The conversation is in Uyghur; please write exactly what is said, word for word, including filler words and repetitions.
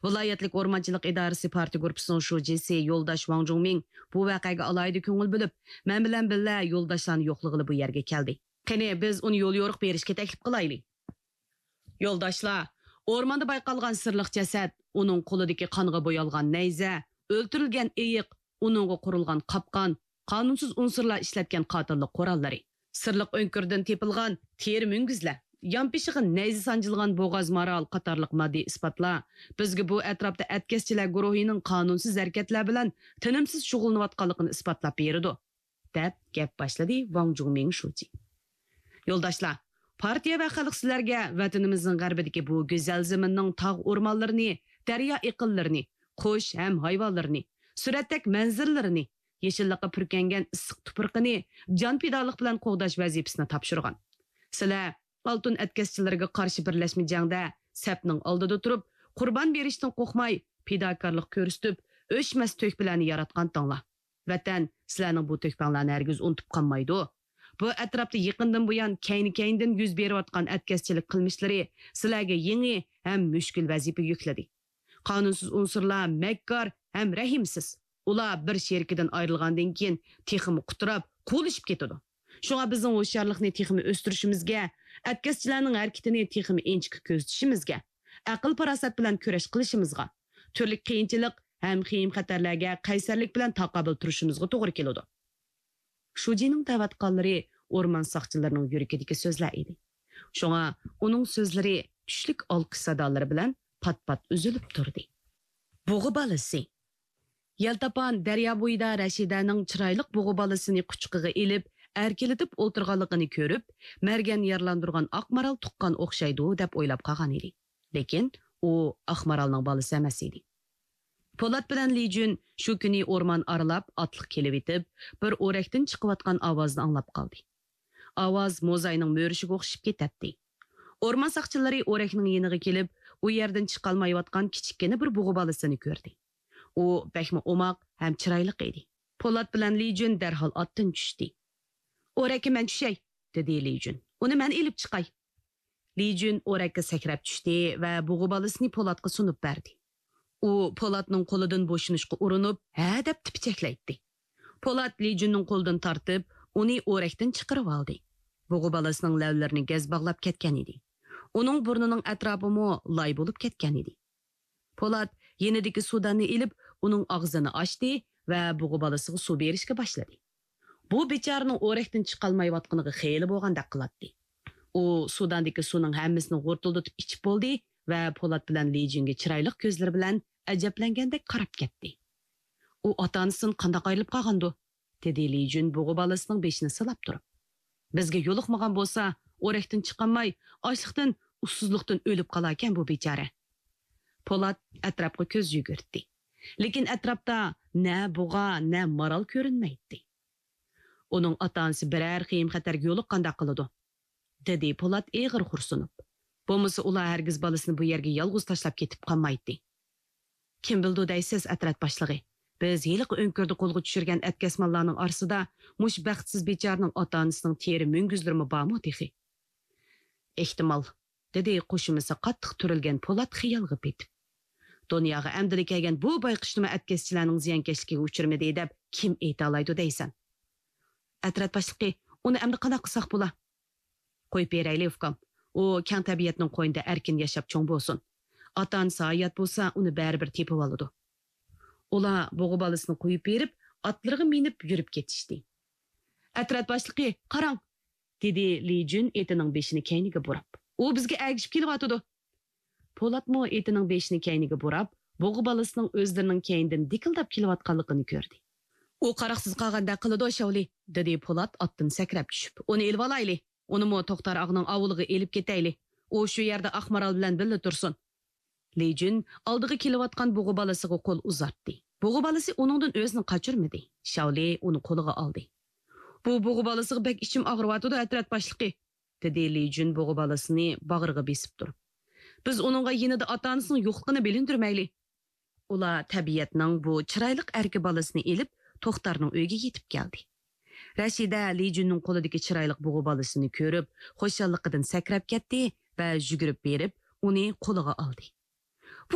ۋىلايەتلىك ئورمانچىلىق ئىدارىسى پارتىيە گۇرۇپپىسىنىڭ شۇجىسى يولداش ۋاڭ جۇڭمىڭ بۇ ۋەقەگە ئالاھىدە كۆڭۈل بۆلۈپ، مەن بىلەن بىللە يولداشلارنى يوقلىغىلى بۇ يەرگە كەلدى. قېنى، بىز ئۇنى يول يورۇق بېرىشكە تەكلىپ قىلايلى. يولداشلار، ئورماندا بايقالغان سىرلىق جەسەت، ئۇنىڭ قولىدىكى قانغا بويالغان نەيزە، ئۆلتۈرۈلگەن ئېيىق، ئۇنىڭغا قۇرۇلغان قاپقان، قانۇنسىز ئۇنسۇرلار ئىشلەتكەن قاتىللىق قوراللىرى، سىرلىق ئۆڭكۈرىدىن تېپىلغان تېرە مۈڭگۈزلەر، يانپېشىغا نەيزە سانجىلغان بوغاز مارال قاتارلىق ماددىي ئىسپاتلار بىزگە بۇ ئەتراپتا ئەتكەسچىلەر گۇرۇھىنىڭ قانۇنسىز ھەرىكەتلەر بىلەن تىنىمسىز شۇغۇللىنىۋاتقانلىقىنى ئىسپاتلاپ بېرىدۇ، دەپ گەپ باشلىدى ۋاڭ جۇڭمىڭ شۇجى. يولداشلار، پارتىيە ۋە خەلق سىلەرگە ۋەتىنىمىزنىڭ غەربىدىكى بۇ گۈزەل زېمىننىڭ تاغ ئورمانلىرىنى، دەريا ئېقىنلىرىنى، قۇش ھەم ھايۋانلىرىنى، سۈرەتتەك مەنزىرىلىرىنى، يېشىللىققا پۈركەنگەن ئىسسىق تۇپرىقىنى جان پىدالىق بىلەن قوغداش ۋەزىپىسىنى تاپشۇرغان. سىلەر ئالتۇن ئەتكەسچىلىرىگە قارشى بىرلەشمە جەڭدە سەپنىڭ ئالدىدا تۇرۇپ، قۇربان بېرىشتىن قورقماي، پىداكارلىق كۆرسىتىپ، ئۆچمەس تۆھپىلەرنى ياراتقانتىڭلار. ۋەتەن سىلەرنىڭ بۇ تۆھپەڭلارنى ھەرگىز ئۇنتۇپ قالمايدۇ. بۇ ئەتراپتا يېقىندىن بۇيان كەينى-كەينىدىن يۈز بېرىۋاتقان ئەتكەسچىلىك قىلمىشلىرى سىلەرگە يېڭى ھەم مۈشكۈل ۋەزىپە يۈكلىدى. قانۇنسىز ئۇنسۇرلار مەككار ھەم رەھىمسىز. ئۇلار بىر شېرىكىدىن ئايرىلغاندىن كېيىن تېخىمۇ قۇتراپ، قۇۋلىشىپ كېتىدۇ. شۇڭا بىزنىڭ ھوشيارلىقنى تېخىمۇ ئۆستۈرۈشىمىزگە، ئەتكەسچىلەرنىڭ ھەرىكىتىنى تېخىمۇ ئىنچىكە كۆزىتىشىمىزگە، ئەقىل-پاراسەت بىلەن كۈرەش قىلىشىمىزغا، تۈرلۈك قىيىنچىلىق ھەم خېيىم-خەتەرلەرگە قەيسەرلىك بىلەن تاقابىل تۇرۇشىمىزغا توغرا كېلىدۇ. شۇجىنىڭ دەۋاتقانلىرى ئورمان ساقچىلىرىنىڭ يۈرىكىدىكى سۆزلەر ئىدى. شۇڭا ئۇنىڭ سۆزلىرى چۈشلۈك ئالقىش سادالىرى بىلەن پات-پات ئۈزۈلۈپ تۇردى. بۇغا بالىسى. يەلتاپان دەريا بويىدا رەشىدەنىڭ چىرايلىق بۇغا بالىسىنى قۇچىقىغا ئېلىپ، ئەركىلىتىپ ئولتۇرغانلىقىنى كۆرۈپ، مەرگەن يارىلاندۇرغان ئاق مارال تۇغقان ئوخشايدۇ، دەپ ئويلاپ قالغان ئىدى. لېكىن ئۇ ئاق مارالنىڭ بالىسى ئەمەس ئىدى. پولات بىلەن لىجۈن شۇ كۈنى ئورمان ئارىلاپ ئاتلىق كېلىۋېتىپ، بىر ئورەكتىن چىقىۋاتقان ئاۋازنى ئاڭلاپ قالدى. ئاۋاز موزاينىڭ مۆرىشىگە ئوخشىشىپ كېتەتتى. ئورمان ساقچىلىرى ئورەكنىڭ يېنىغا كېلىپ، ئۇ يەردىن چىقالمايۋاتقان كىچىككىنە بىر بۇغا بالىسىنى كۆردى. ئۇ بەكمۇ ئوماق ھەم چىرايلىق ئىدى. پولات بىلەن لىجۈن دەرھال ئاتتىن چۈشتى. ئورەككە مەن چۈشەي، دېدى لىجۈن. ئۇنى مەن ئېلىپ چىقاي. لىجۈن ئورەككە سەكرەپ چۈشتى ۋە بۇغا بالىسىنى پولاتقا سۇنۇپ بەردى. ئۇ پولاتنىڭ قولىدىن بوشىنىشقا ئۇرۇنۇپ، ھە دەپ تىپىچەكلەيتتى. پولات لىجۈننىڭ قولىدىن تارتىپ، ئۇنى ئورەكتىن چىقىرىۋالدى. بۇغا بالىسىنىڭ لەۋلىرىنى گەز باغلاپ كەتكەن ئىدى. ئۇنىڭ بۇرنىنىڭ ئەتراپىمۇ لاي بولۇپ كەتكەن ئىدى. پولات يېنىدىكى سۇداننى ئېلىپ، ئۇنىڭ ئاغزىنى ئاچتى ۋە بۇغا بالىسىغا سۇ بېرىشكە باشلىدى. بۇ بىچارىنىڭ ئورەكتىن چىقالمايۋاتقىنىغا خېلى بولغاندەك قىلاتتى. ئۇ سۇداندىكى سۇنىڭ ھەممىسىنى غۇرتۇلدىتىپ ئىچىپ بولدى ۋە پولات بىلەن لىجۈنگە چىرايلىق كۆزلىرى بىلەن ئەجەبلەنگەندەك قاراپ كەتتى. ئۇ ئاتا-ئانىسىدىن قانداق ئايرىلىپ قالغاندۇ؟ دېدى لىجۈن بۇغا بالىسىنىڭ بېشىنى سىلاپ تۇرۇپ. بىزگە يولۇقمىغان بولسا، ئورەكتىن چىقالماي، ئاچلىقتىن، ئۇسسۇزلۇقتىن ئۆلۈپ قالاركەن بۇ بىچارە. پولات ئەتراپقا كۆز يۈگۈرتتى. لېكىن ئەتراپتا نە بۇغا، نە مارال كۆرۈنمەيتتى. ئۇنىڭ ئاتا-ئانىسى بىرەر خېيىم-خەتەرگە يولۇققانداق قىلىدۇ، دېدى پولات ئېغىر خورسۇنۇپ. بولمىسا ئۇلار ھەرگىز بالىسىنى بۇ يەرگە يالغۇز تاشلاپ كېتىپ قالمايتتى. كىم بىلىدۇ دەيسىز، ئەترەت باشلىقى. بىز ھېلىقى ئۆڭكۈردە قولغا چۈشۈرگەن ئەتكەسمانلارنىڭ ئارىسىدا مۇشۇ بەختسىز بىچارىنىڭ ئاتا-ئانىسىنىڭ تېرە مۈڭگۈزلىرىمۇ بارمۇ تېخى؟ ئېھتىمال، دېدى قوشۇمىسى قاتتىق تۈرۈلگەن پولات خىيالغا پېتىپ. دۇنياغا ئەمدىلا كەلگەن بۇ بايقۇشنىمۇ ئەتكەسچىلەرنىڭ زىيانكەشلىكىگە ئۇچرىمىدى دەپ كىم ئېيتالايدۇ دەيسەن؟ ئەترەت باشلىقى، ئۇنى ئەمدى قانداق قىلساق بولا؟ قويۇپ بېرەيلى، ئۇكام. ئۇ كەڭ تەبىئەتنىڭ قوينىدا ئەركىن ياشاپ چوڭ بولسۇن. ئاتا-ئانىسى ھايات بولسا، ئۇنى بەرىبىر تېپىۋالىدۇ. ئۇلار بۇغا بالىسىنى قويۇپ بېرىپ، ئاتلىرىغا مىنىپ يۈرۈپ كېتىشتى. ئەترەت باشلىقى، قاراڭ! دېدى لى جۈن ئېتىنىڭ بېشىنى كەينىگە بۇراپ. ئۇ بىزگە ئەگىشىپ كېلىۋاتىدۇ. پولاتمۇ ئېتىنىڭ بېشىنى كەينىگە بۇراپ، بۇغا بالىسىنىڭ ئۆزلىرىنىڭ كەينىدىن دىكىلداپ كېلىۋاتقانلىقىنى كۆردى. ئۇ قاراقسىز قالغاندەك قىلىدۇ، شاۋلى، دېدى پولات ئاتتىن سەكرەپ چۈشۈپ. ئۇنى ئېلىۋالايلى. ئۇنىمۇ توختار ئاغىنىڭ ئاۋۇلىغا ئېلىپ كېتەيلى. ئۇ شۇ يەردە ئاق مارال بىلەن بىللە تۇرسۇن. لى جۈن ئالدىغا كېلىۋاتقان بۇغا بالىسىغا قول ئۇزارتتى. بۇغا بالىسى ئۇنىڭدىن ئۆزىنى قاچۇرمىدى. شاۋلى ئۇنى قولىغا ئالدى. بۇ بۇغا بالىسىغا بەك ئىچىم ئاغرىۋاتىدۇ، ئەترەت باشلىقى، دېدى لى جۈن بۇغا بالىسىنى باغرىغا بېسىپ تۇرۇپ. بىز ئۇنىڭغا يېنىدا ئاتا-ئانىسىنىڭ يوقلۇقىنى بىلىندۈرمەيلى. ئۇلار تەبىئەتنىڭ بۇ چىرايلىق ئەركە بالىسىنى ئېلىپ، توختارنىڭ ئۆيىگە يېتىپ كەلدى. رەشىدە لى جۈننىڭ قولىدىكى چىرايلىق بۇغا بالىسىنى كۆرۈپ، خۇشاللىقىدىن سەكرەپ كەتتى ۋە يۈگۈرۈپ بېرىپ، ئۇنى قولىغا ئالدى.